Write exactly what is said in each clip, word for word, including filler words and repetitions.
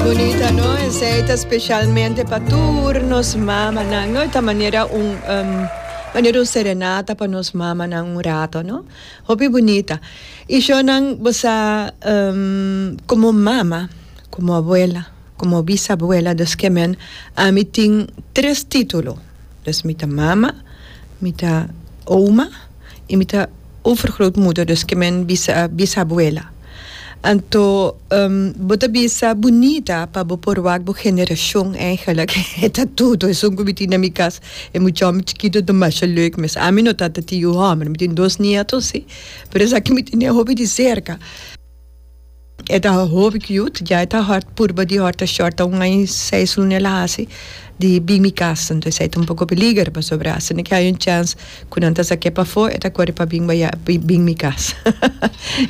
Bunita, no? Esey ta specialmente pa tur nos mamanan, no? Ta manera un um, manera un serenata pa nos mamanan un rato, no? Hopi bunita. Y shonan, bo sa, um, como mama, como abuela, como bisabuela, dus kemen, ami tin tres titulo. Dus mi ta mama, mi ta oma y mi ta overgrootmoeder, dus kemen bisa, bisabuela. Anto, um, bo ta bisa bunita pa bo por wak bo generacion eigenlijk. Ta tur esun cu mi tin na mi cas. E mucha chikito ta masha leuk mes. Ami no tata tin yu homber, mi tin dos nieto si. Pero esaki mi tin hopi di cerca. E ta hopi cute, ya ta hard purba di horta short un aña seis luna el a hasi di bin mi cas, anto esey ta un poco peliger pasobra asina cu hay un chance cu nan ta saque pafo, e ta core pa bin baya bin mi cas.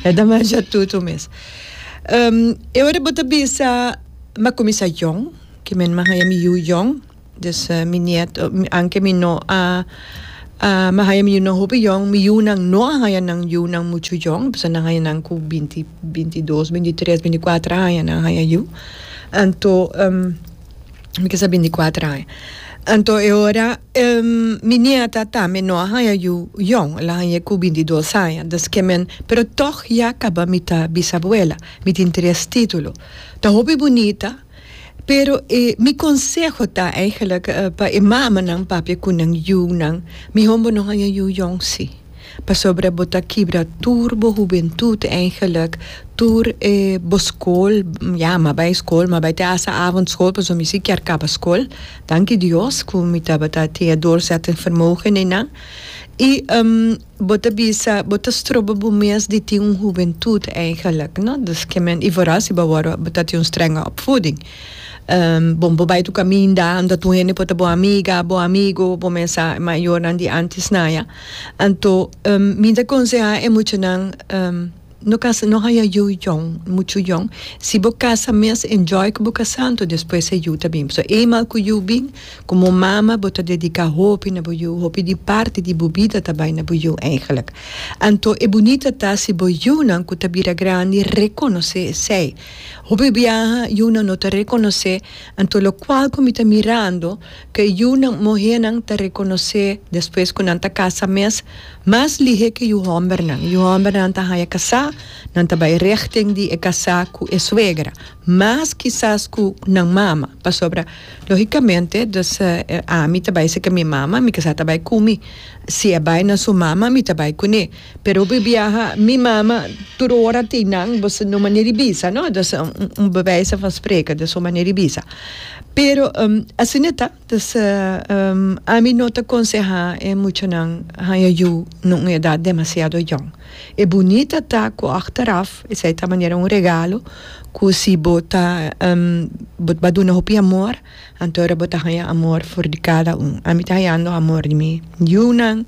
E ta masha tutu mes. Um, e ora bo ta bisa m'a cuminsa jong, kemen m'a haya mi yu jong, dus uh, mi nieto, aunke mi no a uh, m'a haya mi yu no hopi jong, mi yunan no a haya nan yunan mucho jong, pasobra nan haya nan cu binti, bintidos, bintitres, binticuater aña nan haya yu. Anto, um, mi kesa binticuater aña. Anto e ora um, mi nieta tambe no a haya yu jong, el a haya cu bintidos aña. Dus kemen, pero toch ya caba mi ta bisabuela, mi tin tres titulo. Ta hopi bunita, pero eh, mi conseho ta eigenlijk uh, pa e mamanan papia cu nan yunan, miho bo no haya yu jong si. Pasobra bo ta kibra tur bo hubentud eigenlijk, tur eh, bo school, ja, m'a bay school, m'a bay te hasta avondschool, pasobra mi si kier caba school. Danki Dios, cu mi tabata tin doorzettingsvermogen einan. Y um, bo ta bisa, bo ta stroba bo mes di tin un hubentud eigenlijk, no? Dus kemen, y vooral si bo bo ta tin un strenge opvoeding. Um, bon, bo bay tur caminda, anda tur hende por ta bo amiga, bo amigo, bo mesa mayornan di antes naya. Anto, um, mi ta conseha e muchanan um, no casa, no haya yu jong, mucho jong. Si bo casa mes, enjoy cu bo casa, anto despues e yu ta bin. So eenmaal cu yu bin, como mama bo ta dedica hopi na bo yu, hopi di parti di bo bida ta bay na bo yu eigenlijk. Anto e bunita ta si bo yunan cu ta bira grandi reconoce esey. Hopi biaha yunan no ta reconoce, anto locual cu mi ta mirando, cu yunan muhernan ta reconoce despues cu nan ta casa mes, mas lihe cu yu hombernan. Yu hombernan ta haya casa, nan ta bay richting di e casa cu e suegra. Mas kisas cu nan mama, pasobra logicamente, dus uh, ami ta bay cu mi mama, mi casa ta bay cu mi. Si e bay na su mama, mi ta bay cune. Pero biaha mi mama tur ora tin nan, bo no manera bisa, no? Dus un, un bewijs van spreken, dus un manera bisa. Pero um, asina ta, dus uh, um, ami no ta conseha e muchanan haya yu na un edad demasiado jong. E bunita ta cu achteraf, esey ta manera un regalo, cu si bo ta um, bo ta duna hopi amor, anto bo ta haya amor for di cada un. Ami ta hayando amor di mi yunan,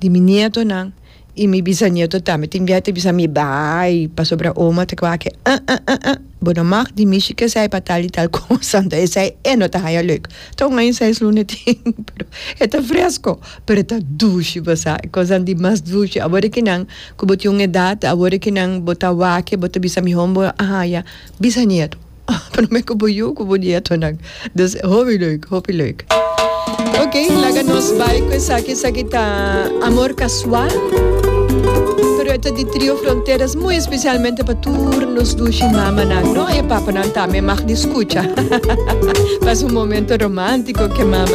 di mi nietonan, y mi bisnieto tambe. Tin biaha bisa mi bay, pasobra oma ta kwake, ah, ah, ah, ah. Bo no mag di mi que sei pa tal y tal cosa, anto esey e no ta haya leuk. Toch un seis luna tin, pero e ta fresco, pero ta dushi, bo sa, cos di mas dushi. Awor cu nan, cu bo tin un edad, awor cu nan bo ta wak, bo ta bisa miho bo haya bisnieto. Pero mi cu bo yu, cu bo nietonan. Dus hopi leuk, hopi leuk. Ok, laga nos bay cu esaki, esaki ta Amor Casual. Pero e ta di Trio Fronteras, muy especialmente pa tur nos dushi mamanan, no? E papanan tambe mag di scucha. Pasa un momento romantico cu mama.